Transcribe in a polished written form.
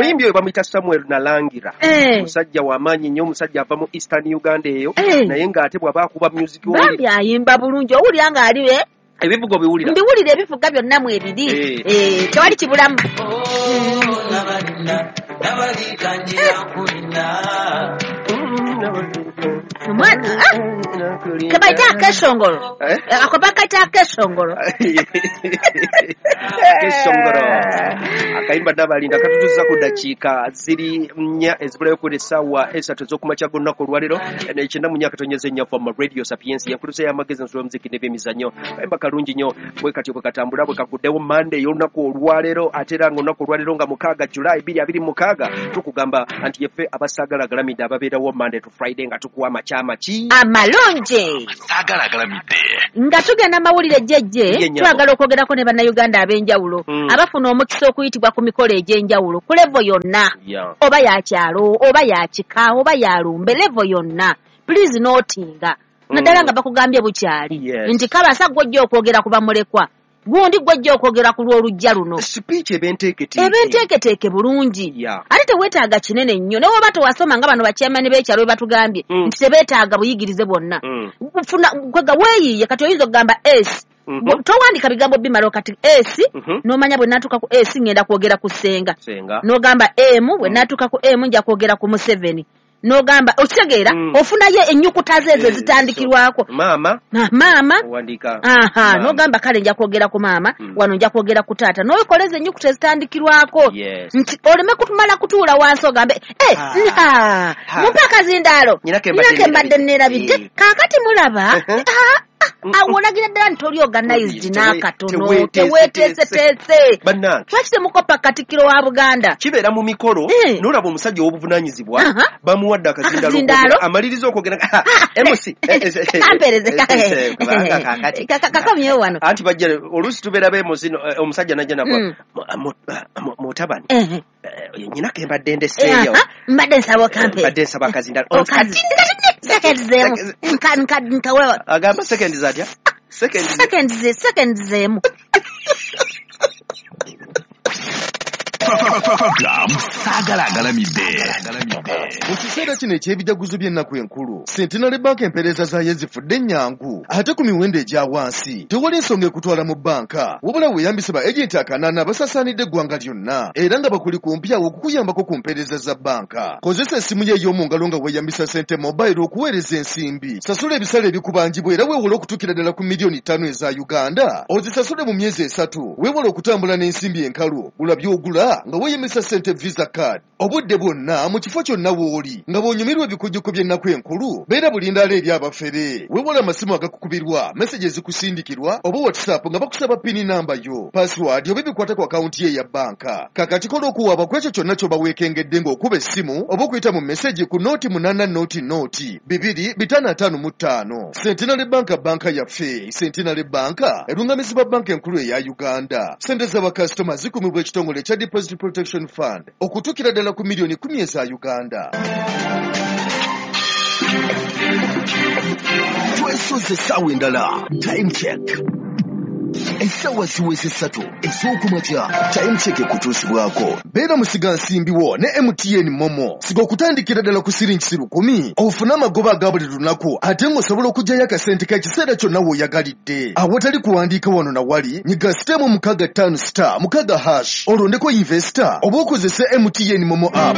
Omuyimbi oyo bamuyita Samuel Nalangira. Musajja w'amaanyi nnyo, omusajja ava mu Eastern Uganda eyo, naye ng'ate bw'aba akuba music bambi ayimba bulungi, owulira ng'ali ebivuga obiwulira. Mbiwulira ebivuga byonna mu ebiri. Tewali kibulamu. Omwana kebaita akeshongolo. Ako bakaita akeshongolo. Akeshongolo. Akayimba Nabalinda katutuusa ku ddakiika ziri 4 ezibulayo ku essaawa 3 ez'okumakya g'olunaku olwaleero 94.4 FM Radio Sapiensia yankuluza y'amagezi ensolo y'omuziki n'ebyemizannyo. Kayimba kalungi nnyo bwe katyo bwe katambula bwe kaguddewo Monday y'olunaku olwaleero, ate era ng'olunaku olwaleero nga 6 July 2026 tukugamba nti yeffe abasaagala galamidde ababeerawo Monday to Friday nga tukuwa amakyama ki amalungi. Nga tugenda mawulire jjejje, twagala okwogerako ne bannayuganda ab'enjawulo abafuna omukisa okuyitibwa ku mikolo egy'enjawulo ku levo yonna, oba ya kyalo oba ya kika oba ya lumbe, levo yonna. Please notinga naddala nga bakugambye bukyali nti kabasa gw'ojja okwogera ku bamulekwa, gundi gw'ojja okwogera ku lw'olujja luno. Speech ebenteeketeeke. Ebenteeketeeke bulungi. Ate teweetaaga kinene nnyo. Ne bw'oba tewasoma nga bano bachairman b'ekyalo bwe batugambye nti tebeetaaga buyigirize bwonna. Funa kwega weeyiye, kati oyinza okugamba S. Towandika bigambo bimala kati S, n'omanya bwe naatuuka ku S ngenda kwogera ku Ssenga. N'ogamba M, bwe naatuuka ku M nja kwogera ku Museveni. N'ogamba okitegeera, ofunayo ennyukuta ze ezo ezitandikirwako. Maama. Maama. Owandiika. Aha, n'ogamba kale nja kwogera ku maama, wano nja kwogera ku taata. N'okoleza ennyukuta ezitandikirwako. Nti oleme kutumala kutuula wansi ogambe, mumpe akazindaalo. Nyina ke mbadde neerabidde. Kaakati mulaba, awo olagira ddala nti toli organized n'akatono, teweeteeseteese. Lwaki temukopa Katikkiro wa Buganda? Kibeera mu mikolo, n'olaba omusajja ow'obuvunaanyizibwa bamuwadde akazindaalo, amaliriza okwogera MC kampeereze kakomyewo wano. Anti bajja oluusi tubeera beemuzi, omusajja n'ajja nagwa mutabani, nyina ke mbadde ndeseeyo, mbadde nsaba okampe, mbadde nsaba akazindaalo. Seconds zemu. Agamba seconds atya? Seconds zemu. Program Saagala Agalamidde. Mu kiseera kino eky'ebijaguzo by'ennaku enkulu, Centenary Bank empeereza zaayo zifudde ennyangu ate ku miwendo egya wansi. Tewali nsonga ekutwala mu bbanka, wabula weeyambise ba agenti 8 abasaasaanidde eggwanga lyonna era nga bakuli kumpi awo okukuyambako ku mpeereza za bbanka. Kozesa essimu yo ey'omu ngalo nga weeyambisa Sente Mobile okuweereza ensimbi. Sasula ebisale ebikubanjibwa era weewole okutuukira ddala ku miliyoni 5 eza Uganda. Ozisasule mu myezi 3. Weewale okutambula n'ensimbi enkalu. Gula by'ogula nga weeyambisa Sente Visa Card. Obudde bwonna mu kifo kyonna w'oli nga bw'onyumirwa ebikujjuko by'ennaku enkulu, beera bulindaala eri abafere. Weewale amasimu agakukubirwa, message ezikusindikirwa oba WhatsApp nga bakusaba PIN namba yo, password oba ebikwata ku akawunti ye eya bbanka. Kaakati kola okuwaaba ku ekyo kyonna ky'oba weekengedde ng'okuba essimu oba okuyita mu message ku 080 0 2 555. Centenary Bank, banka yaffe. Centenary Bank erungamizibwa banka enkulu eya Uganda. Sente z'abakasitoma zikumibwa ekitongole ekya Deposit Protection Fund okutuukira ddala ku miliyoni 10 eza Uganda. Twesoze essaawa endala. Time check. Essaawa ziweze 3 ez'okumakya. Time check ekutuusibwako. Beera musigansimbi wo ne MTN Momo. Siga okutandikira ddala ku siringi 10,000 ofune amagoba aga buli lunaku ate ng'osobola okuggyayo akasente k'ekiseera kyonna w'oyagalidde. Awatali kuwandiika wano na wali, nyiga *656*6# olondeko investor oba okozese MTN Momo app.